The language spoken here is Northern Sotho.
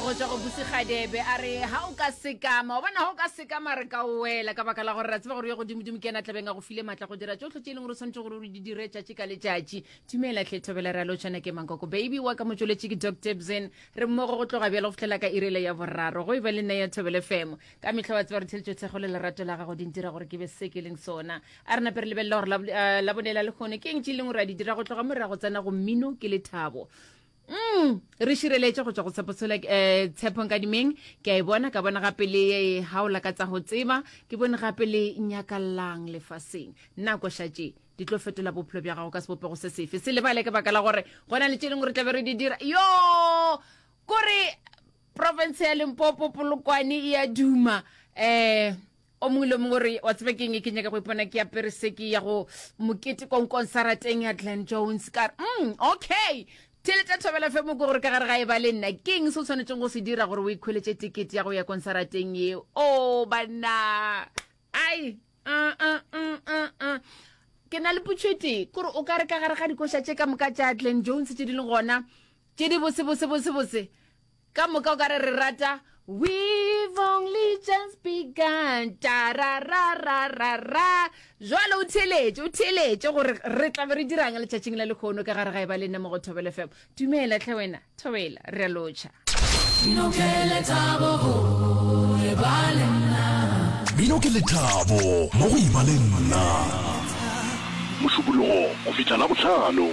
Go tšwa go Busi Kgadebe a re ha o ka sekama, wa bona ha o ka sekama re ka o wela ka baka la gore ra tseba gore yo godimodimo ke yena tlabeng a go file matla go dira tšohle tše e leng gore o swanetše gore o di dire tšatši ka letšatši. Dumela hle Thobela re a lotšhana ke Mankoko baby wa ka motšweletši ke Doc Tebsen re mmogo go tloga bjalo go fihlela ka irele ya boraro go e ba le nna ya Thobela FM. Ka mehla wa tseba re theletšo thekgo le lerato la gago di ntira gore ke be se ke leng sona. A re nape re lebelela gore Labone la lehono ke eng tše e leng gore a di dira go tloga mo re ya go tsena go mmino ke lethabo. Mm, re šireletše go tšwa go tshepo tshola eh, tshepo nkadimeng ke a e bona ka bona gape le haola ka tsa go tseba ke bone gape le nyakallang lefaseng nako šatše di tlo fetola bophelo bja gago ka sebopego se sefe se lebale ka baka la gore go na le tše dingwe re tlabe re di dira yo kore province ya limpopo polokwane e a duma um o mongwe le mongwe gore wa tseba keng ke nyaka go ipona ke apere se ke ya go mokete konkonsarateng ya glen jones ka re mm, okay theletša thobela fe moko gore ka gare ga e ba le nna ke eng se o tshwanetseng go se dira gore o ikhweletše tekete ya go ya konsarateng yeo o oh, banna ai uh, uh, uh, uh, uh. ke na le potšo e tee kore o ka re ka gare ga dikoša tše ka moka tša glen jones tše di leng gona tše di bose bose bose bose Ka moka o ka re re rata We've only just begun tararararara jwale o theeletše o theeletše gore re tla be re dirang letšatšing la lekgono ka gare ga e ba le nna mo go Thobela FM dumela tlhe wena Thobela re a lotšha Mmino ke lethabo go e ba le nna. Mmino ke lethabo mo go e ba le nna. Mošupologo go fihla Labohlano.